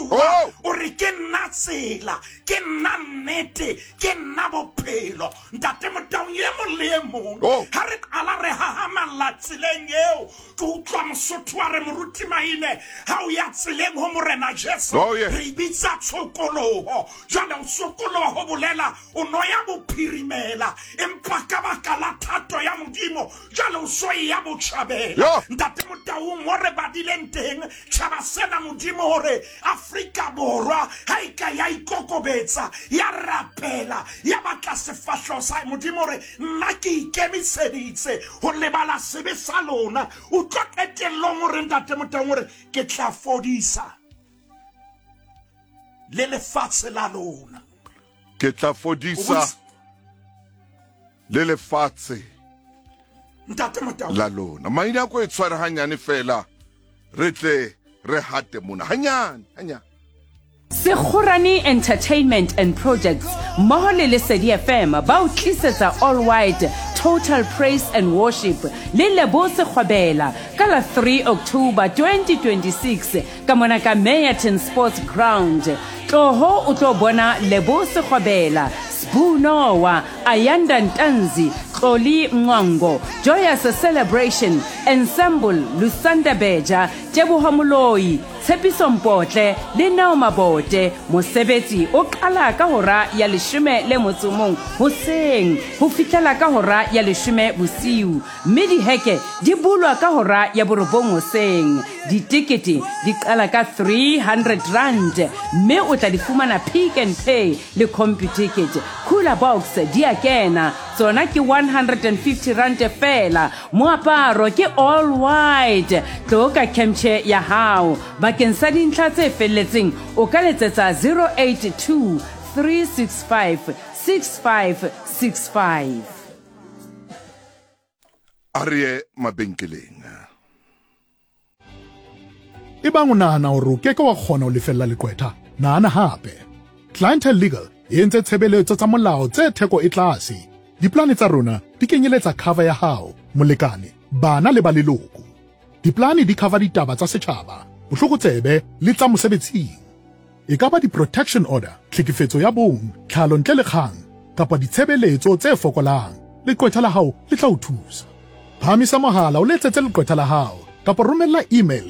Joshua Oh. o re ke nna tsela, ke nna nnete, ke nna bophelo. Ntate Motaung e mong le e mong Oh. ha re qala re hahamalla tseleng eo, ke utlwa Mosotho a re Moruti Maine ha o ya tseleng ho Morena Jesu Oh, yes. re e bitsa tshokoloho. Jwale o sokoloha ho bolela o no ya bophirimela, empa ka baka la thato ya Modimo jwale o so eya botjhabela. Yo. Ntate Motaung mo re badileng teng tjhaba sena Modimo hore Afrika Borwa ha e ka ya ikokobetsa ya rapela ya batla sefahleho sa hae, Modimo o re nna ke ikemiseditse ho lebala sebe sa lona. Utlwa qetellong o re Ntate Motaung o re ke tla fodisa le lefatshe la lona. Ke tla fodisa le lefatshe Ntate Motaung la lona. Maina ko e tshware hanyane fela re tle re hate mona hanyane hanyane. Sekgorane Entertainment and Projects mmoho le Lesedi FM ba o tlisetsa All White Total Praise and Worship le Lebo Sekgobela ka la 3 October 2026 ka mona ka Meyerton Sports Ground. Tloho o tlo bona Lebo Sekgobela, Sbu Noah, Ayanda Ntanzi, Xoli Mncwango, Joyous Celebration, Ensemble, Lusanda Beja, Teboho Moloi, Tshepiso Mpotle le Neo Mabote. Mosebetsi o qala ka hora ya leshome le motso mong hoseng ho fihlela ka hora ya leshome bosiu, mme diheke di bulwa ka hora ya borobong hoseng. Ditekete di qala ka R300 mme o tla di fumana Pick n Pay le Computicket. Cooler box di a kena, tsona ke R150 feela. Moaparo ke all white. Tlo ka kemtjhe ya hao. Bakeng sa dintlha tse felletseng o ka letsetsa 082 365 6565. A re ye mabenkeleng. Ebang o nahana hore o ke ke wa kgona ho lefella leqwetha, nahana hape. Clientele Legal e entse tshebeletso tsa molao tse theko e tlase. Diplane tsa rona di kenyeletsa cover ya hao, molekane, bana le ba leloko. Diplane di cover ditaba tsa setjhaba, botlokotsebe le tsa mosebetsing. E ka ba di-protection order, tlhekefetso ya bong, tlhalo ntle le kgang, kapa ditshebeletso tse fokolang, leqwetha la hao le tla o thusa. Phahamisa mohala o letsetse leqwetha la hao kapa romella email.